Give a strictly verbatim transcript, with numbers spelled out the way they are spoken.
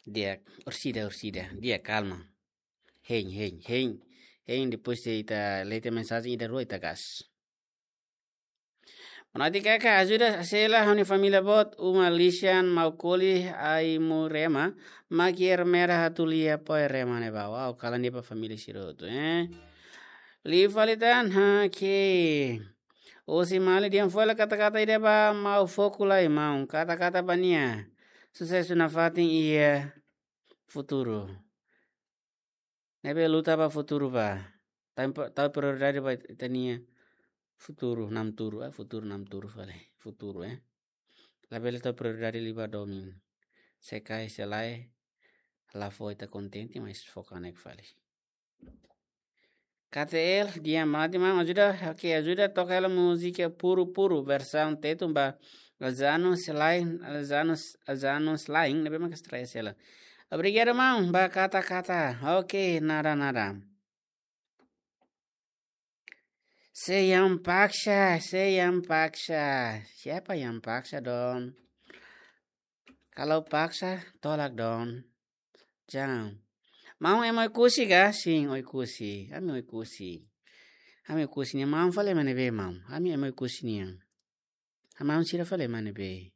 Di'ak, orsida, orsida. Di'ak, kalma. Hein, hein, hein. Hein, depois de ita lee tiha mensajen ida rua ita gas. Bonati kaka ajuda sela ha'u-nia família boot, uma lixan, mau koli, ai mu rema, mak ier mera hatulia poi rema ne'ebá. Wow, kalan ida ba família sira hotu, eh. Liu fali tan, ha, ke. Osi mali dian fola kata-kata ida ba mau foku lai maun, kata-kata ba nia. Susesu nafatin iha futuru. Ne'ebé luta ba futuru ba. Tau impo-, tau prioridade ba ita-nia futuru namturu, ah, futuru namturu fali. Futuru, eh. Labele tau prioridade liu ba domin. Se kaer, se lae, la fó ita kontente, mas foka ne'e fali. K T L, di'ak, bonati maun, ajuda, oke, ajuda toka hela múzika Puru Puru, versaun Tetun ba Azanus Lain, Azanus, Azanus Lain, ne'ebé mak estreia sela. Obrigadu maun ba kata-kata. Oke, nada, nada. Se yang paksa, se yang paksa. Siapa yang paksa, Don? Kalau paksa, tolak, Don. Jangan. Maun ema Oekusi ka? Sin, Oekusi. Ami Oekusi. Ami Oekusi nian, maun fali ema ne'ebé, maun? Ami ema Oekusi nian. Maun sira fali ema ne'ebé?